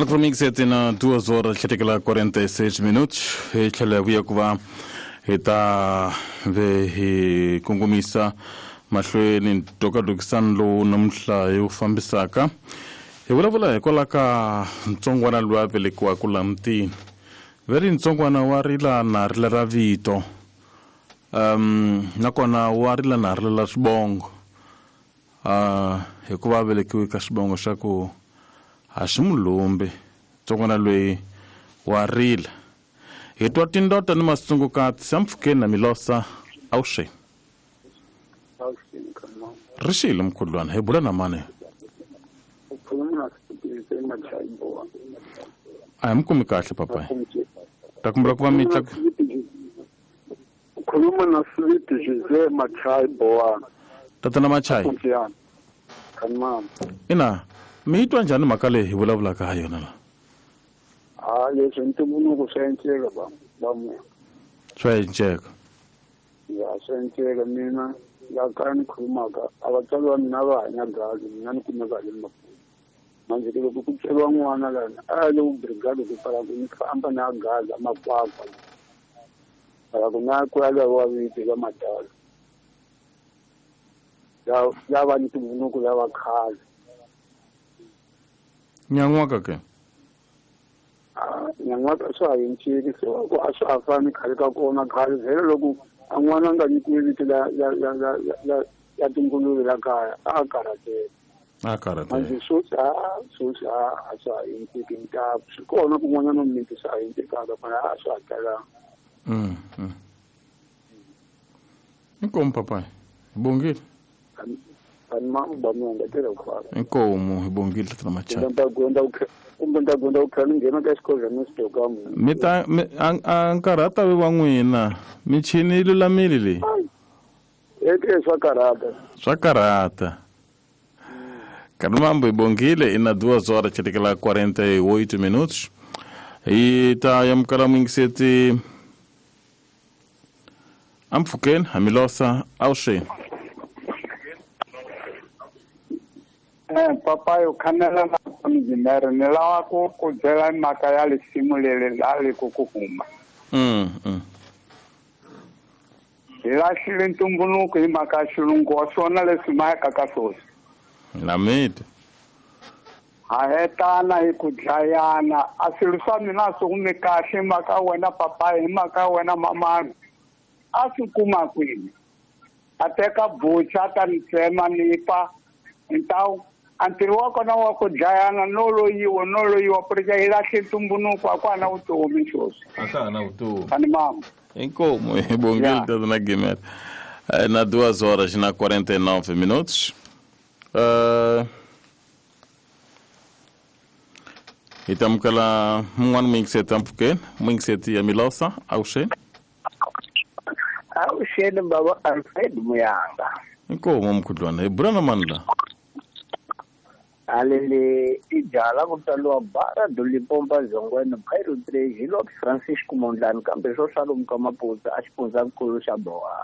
Electromix na 2 horas 46 minutos hi tlhela hi vuya ku va hi ta ve hi kongomisa mahlweni ntokatokisano lowu namuntlha hi wu fambisaka hi vulavula hikwalaho ka ntsongwana loyi a velekiwaka laha mutini ve ri ntsongwana wa rila na rila ra vito nakona wa rila na rila la swivongo hikuva a velekiwe ka xivongo xa ku a xi mulumbi ntsongwana loyi wa rila hi twa tindota ni masungukati sampfukeni na milosa awuxeni ri xile mkhudlwana hi bula na mani a hi mi kumi kahle papayi ta kumbela ku va mi tla Ukhuluma na Sweet Jose Machai Bowana. Tatana Machai. Kanmama. Ina, mi yi twa njhani mhaka leyi hi vulavulaka ha yona la? Ha, leswi ntumbuluko swa enceka ba ba munhu. Swa enceka. Ya swa enceka mina la kaya ni khulumaka a vatswari va mina va hanya gazi mina ni kumeka le Maputo. Manje ke loko ku tsweriwa n'wana lana a ya le ku brigade ku pfala ku ni famba na gaza makwakwa. Phela ku na ku ya laviwa vito la madala. Ya ya va ntumbuluko ya va khale. Nyan'waka ke? Ah, nyan'waka swa ha cincile se ku a swa ha fani khale ka kona khale vhele loko a n'wana a nga nyikiwi vito la la la la la la tinguluve la kaya a karhateka. A karhateka. Manje sweswi a sweswi a a swa ha endleki ntaku swi kona kun'wanyana mimiti swa ha endlekaka mara a swa ha talanga. Inkomu papayi hi bongile. Ani ba mi engetela ku fana. Inkomu hi bongile tatana Machaka. Kumbe ni ta gonda ku tlhela ni nghena ka xikhodlhana ni swi ka Mi ta mi a nkarhi a ta ve wa n'wina michini yi lulamile leyi. Eke swa karhata. Swa karhata. Kanumambo hi bongile ina 2 horas chetekela 48 minutos. Hi ta yamukela muyingiseti ampfhukeni hamilosa awuxeni. Papayo khanela na mjimere ni lava ku ku byela mhaka ya lisimu leri la ri ku ku huma. Hi lahlile ntumbuluko hi mhaka ya xilungu wa swona leswi mayaka ka swoswi. Namiti. Ha hetana hi ku dlayana a swilo swa mina swi humi kahle hi mhaka wena papayi hi mhaka wena mamani a swi kuma kwini a teka bucha a ta ni tsema ni fa ntawu a ntirho wa kona wa ku dlayana no loyiwa no loyiwa purika hi lahle ntumbuluko a ku ha na vutomi sweswi a ka ha na vutomi ani mama inkomu hi bongile tatana Gimela na 2 horas na 49 minutos. Hi ta amukela mun'wana muyingiseti ampfhukeni muyingiseti ya Milosa awuxeni. Awuxeni baba Alfred Muyanga. Inkomu mkhudlwana hi bula na mani la? Alele i jaha la ku tswariwa Bara Dulipompa Zongweni Bhairo 3 hi Lord Francisco Mondlane kambe swo swa lomu ka Maputsa a xifundzakulu xa Bohana.